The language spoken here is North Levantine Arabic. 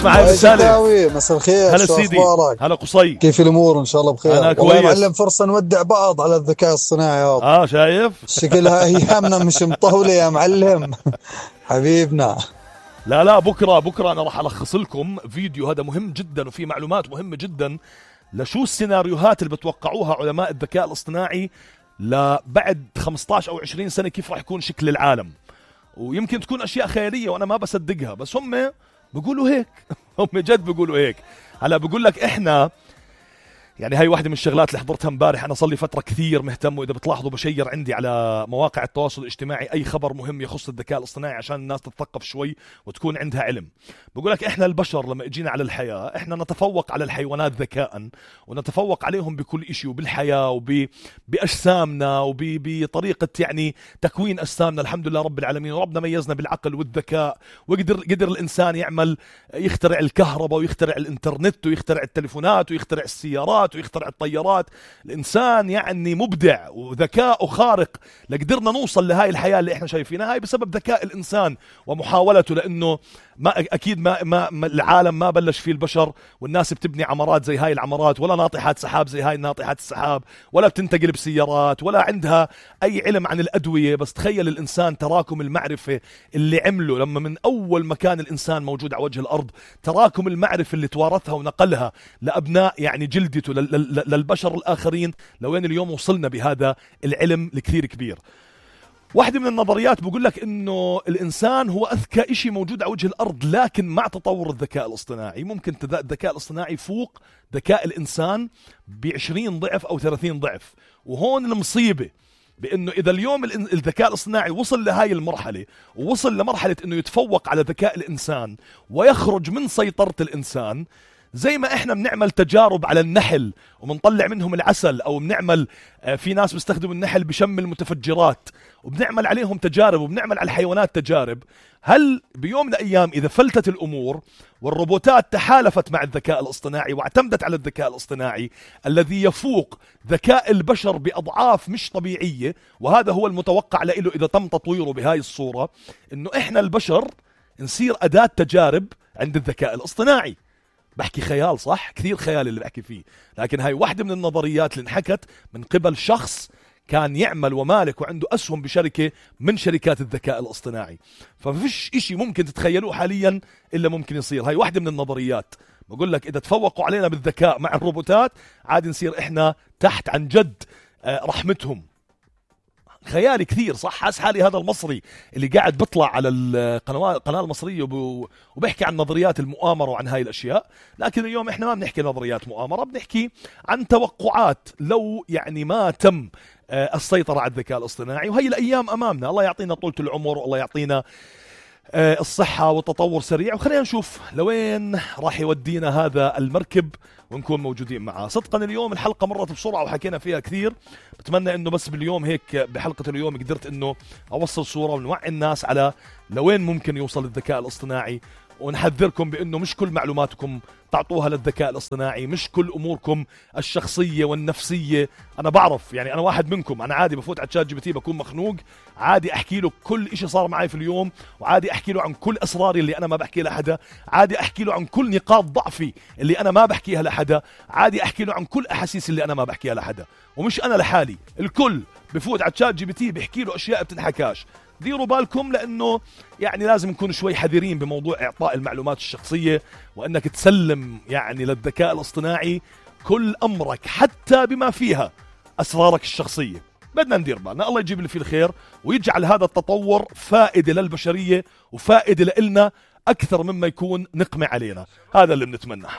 معي بالرسالة. مساء الخير. هلا سيدي. هلا قصي. كيف الامور؟ ان شاء الله بخير. انا كويس. معلم فرصة نودع بعض على الذكاء الصناعي هذا. شايف شكلها ايامنا مش مطولة يا معلم. حبيبنا. لا بكرة أنا راح ألخص لكم فيديو هذا مهم جدا وفي معلومات مهمة جدا لشو السيناريوهات اللي بتوقعوها علماء الذكاء الاصطناعي لبعد 15 أو 20 سنة، كيف راح يكون شكل العالم. ويمكن تكون أشياء خيالية وأنا ما بصدقها، بس هم بيقولوا هيك. هم جد بيقولوا هيك. هلا بقول لك إحنا يعني هاي واحدة من الشغلات اللي حضرتها امبارح. أنا صار لي فترة كثير مهتم، وإذا بتلاحظوا بشير عندي على مواقع التواصل الاجتماعي أي خبر مهم يخص الذكاء الاصطناعي عشان الناس تتثقف شوي وتكون عندها علم. بقول لك إحنا البشر لما اجينا على الحياة إحنا نتفوق على الحيوانات ذكاء، ونتفوق عليهم بكل إشي، وبالحياة وبأجسامنا وبطريقة يعني تكوين أجسامنا. الحمد لله رب العالمين، وربنا ميزنا بالعقل والذكاء، وقدر الإنسان يخترع الكهرباء ويخترع الإنترنت ويخترع التليفونات ويخترع السيارات ويخترع الطيارات. الإنسان يعني مبدع وذكاء خارق لقدرنا نوصل لهاي الحياة اللي احنا شايفينها. هاي بسبب ذكاء الإنسان ومحاولته، لأنه أكيد ما العالم ما بلش فيه البشر والناس بتبني عمارات زي هاي العمارات، ولا ناطحات سحاب زي هاي ناطحات السحاب، ولا بتنتقل بسيارات، ولا عندها أي علم عن الأدوية. بس تخيل الإنسان تراكم المعرفة اللي عمله لما من أول ما كان الإنسان موجود على وجه الأرض، تراكم المعرفة اللي توارثها ونقلها لأبناء يعني جلدته للبشر الآخرين، لوين اليوم وصلنا بهذا العلم الكثير كبير. واحدة من النظريات بقول لك إنه الإنسان هو أذكى إشي موجود على وجه الأرض، لكن مع تطور الذكاء الاصطناعي ممكن الذكاء الاصطناعي يفوق ذكاء الإنسان ب20 ضعف أو 30 ضعف. وهون المصيبة، بأنه إذا اليوم الذكاء الاصطناعي وصل لهاي المرحلة، ووصل لمرحلة إنه يتفوق على ذكاء الإنسان ويخرج من سيطرة الإنسان، زي ما احنا بنعمل تجارب على النحل وبنطلع منهم العسل، او بنعمل في ناس بيستخدموا النحل بشم المتفجرات وبنعمل عليهم تجارب وبنعمل على الحيوانات تجارب، هل بيوم من الايام اذا فلتت الامور والروبوتات تحالفت مع الذكاء الاصطناعي واعتمدت على الذكاء الاصطناعي الذي يفوق ذكاء البشر باضعاف مش طبيعية، وهذا هو المتوقع له اذا تم تطويره بهاي الصورة، انه احنا البشر نصير اداة تجارب عند الذكاء الاصطناعي. بحكي خيال صح؟ كثير خيال اللي بحكي فيه، لكن هاي واحدة من النظريات اللي انحكت من قبل شخص كان يعمل ومالك وعنده أسهم بشركة من شركات الذكاء الاصطناعي. ففيش إشي ممكن تتخيلوه حاليا إلا ممكن يصير. هاي واحدة من النظريات. بقول لك إذا تفوقوا علينا بالذكاء مع الروبوتات عاد نصير إحنا تحت عن جد رحمتهم. خيالي كثير صح. حاس حالي هذا المصري اللي قاعد بطلع على القناة المصرية وبيحكي عن نظريات المؤامرة وعن هاي الأشياء، لكن اليوم إحنا ما بنحكي نظريات مؤامرة، بنحكي عن توقعات لو يعني ما تم السيطرة على الذكاء الاصطناعي. وهي الأيام أمامنا، الله يعطينا طولة العمر والله يعطينا الصحة والتطور سريع، وخلينا نشوف لوين راح يودينا هذا المركب ونكون موجودين معاه. صدقا اليوم الحلقة مرت بسرعة وحكينا فيها كثير. بتمنى انه بس باليوم هيك بحلقة اليوم قدرت انه اوصل صورة ونوعي الناس على لوين ممكن يوصل الذكاء الاصطناعي، ونحذركم بأنه مش كل معلوماتكم تعطوها للذكاء الاصطناعي، مش كل أموركم الشخصية والنفسية. أنا بعرف يعني أنا واحد منكم، أنا عادي بفوت على تشات جي بي تي بكون مخنوق، عادي أحكي له كل إشي صار معي في اليوم، وعادي أحكي له عن كل أسراري اللي أنا ما بحكي لحدا، عادي أحكي له عن كل نقاط ضعفي اللي أنا ما بحكيها لحدا، عادي أحكي له عن كل أحاسيس اللي أنا ما بحكيها لحدا. ومش أنا لحالي، الكل بفوت على تشات جي بي تي بيحكي له أشياء بتنحكاش. ديروا بالكم، لأنه يعني لازم نكون شوي حذرين بموضوع إعطاء المعلومات الشخصية، وأنك تسلم يعني للذكاء الاصطناعي كل أمرك حتى بما فيها أسرارك الشخصية. بدنا ندير بالنا. الله يجيب اللي فيه الخير ويجعل هذا التطور فائدة للبشرية وفائدة لإلنا أكثر مما يكون نقمة علينا. هذا اللي بنتمناه.